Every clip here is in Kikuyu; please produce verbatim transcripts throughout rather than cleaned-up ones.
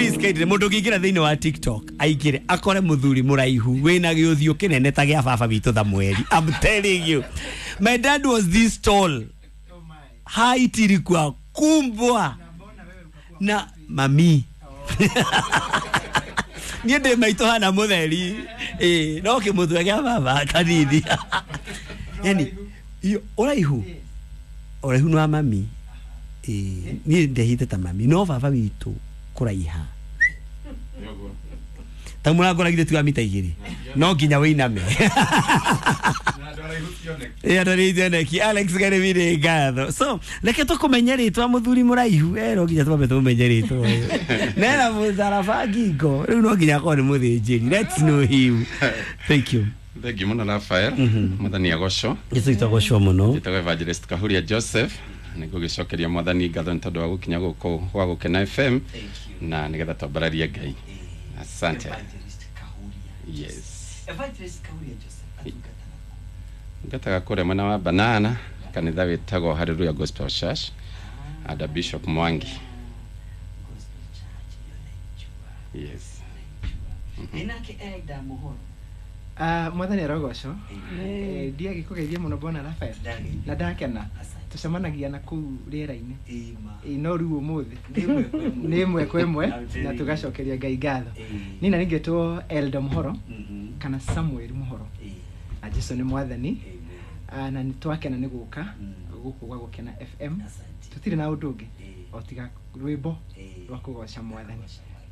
Please kindly mundu ũngĩingĩra thĩinĩ wa TikTok aingĩre akore mũthuri mũraihu wĩna gĩũthiũ kĩnene ta gĩa baba witũ Thamweri. I'm telling you, my dad was this tall, height ilikuwa kumbwa na mami. Niĩ ndĩ maitũ hana mũtheri, ĩ no kĩmũthwe gĩa baba kanini. Yani iyo ũraihu ũraihu nĩ wa mami. Ĩ niĩ ndehite ta mami, no baba witũ kũraiha ta mũrango ragire tu mita igĩrĩ no nginya wĩiname. Ĩ andũ arĩa ithioneki. Alex Garibire ngatho. So reke tũkũmenye rĩtwa mũthuri mũraihu, eh no nginya twambe tũmenye rĩtwa nena mũtharaba ngingo rĩu no nginya akorwo nĩ mũthĩnjĩri. Let's know him. Thank you. Thank you muno Rafael. Mwathani agocwo. Jesu itagocwo mũno. Njĩtagwo Evangelist Kahuria Joseph. Nĩngũgĩcokeria mwathani ngatho nĩ tondũ wa gũkinya gũkũ gwa Gũkena F M na nĩgetha twambararie Ngai. Asante. Evangelist Kahuria. Yes. Evangelist Kahuria Joseph atungataga kũ? Ngataga kũrĩa mwena wa Banana, kanitha wĩtagwo Hallelujah Gospel Church under Bishop Mwangi. Gospel Church hiyo naijua. Yes. Naijua. Ĩnake Elda Muhoro. Ah, mwathani arogocwo. Eh, ndiagĩkũgeithia mũno bwana Rafael na ndakena. Tucemanagia na kũu rĩera-inĩ. Ĩ no rĩu ũmũthĩ nĩ ĩmwe kwa ĩmwe na tũgacokeria Ngai ngatho. Niĩ na ningĩtwo Elda Muhoro kana Samuel Muhoro. Na Jesu nĩ mwathani. Na nĩ twakena nĩ gũka gũkũ gwa Gũkena F M. Tũtirĩ na ũndũ ũngĩ o tiga rwĩmbo rwa kũgoca mwathani.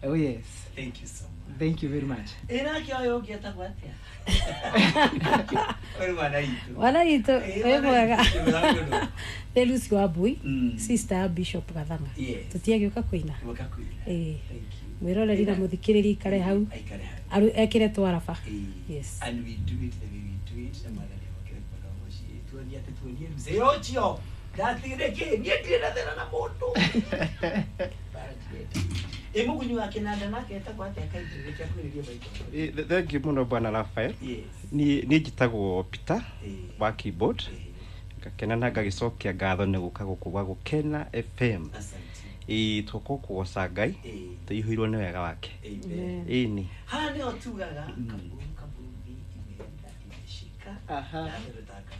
Oh yes. Thank you so much. Thank you very much. Ĩnake ũyũ ũngĩ etagwo atĩa? Ũyũ mwana witũ. Mwana witũ wĩ mwega. Nĩ Lucy Wambui, sister ya Bishop Gathanga. Tũtiagĩũka kũina. Gũka kũina. Ĩĩ. Thank you. Mwĩroreri na mũthikĩrĩria ikare hau. Aikare hau. Aru ekĩre twaraba. Yes. And we do it the way we do it. Na mwathani amũkĩre kuona mũciĩ. Tuonie atĩ tuonie mzee ũcio. Ndatigire kĩ? Niĩ ndirĩ na thĩna na mũndũ. Ĩ mũgunyi wa kĩnanda nake etagwo atĩa kaingĩ reke akwĩrĩrie maitho. Thank you mũno bwana Rafael. Yes. Niĩ niĩ njĩtagwo Peter wa keyboard. Ĩĩ. Ngakena na ngagĩcokia ngatho nĩ gũka gũkũ gwa Gũkena F M. Asante. Ĩ tũka kũgoca Ngai Ĩĩ. tũihũirwo nĩ wega wake. Amen. Ĩni. Haha nĩho tugaga kaburu kaburu imeenda imeshika. Aha. Na ndio tutaka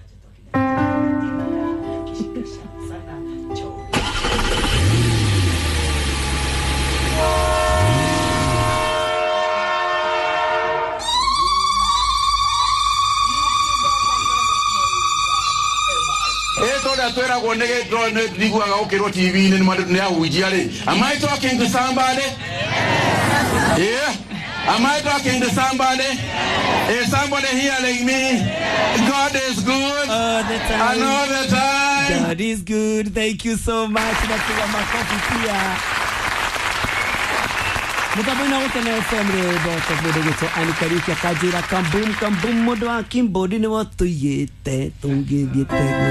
kishika sana choo. Twĩragwo nĩ ndiguaga gũkĩrwo T V-inĩ nĩ ahunjia rĩ. Am I talking to somebody? Yeah. Am I talking to somebody? Is somebody hearing me? God is good all the time. And all the time. God is good. Thank you so much. Napiga makofi pia. Mũtambo-inĩ wa Gũkena F M rwĩmbo mũndũ gwĩtwo Anne Kariuki akanjĩra kambum kambum mũndũ wa keyboard nĩwe ũtũiyĩte tũngĩthiĩte.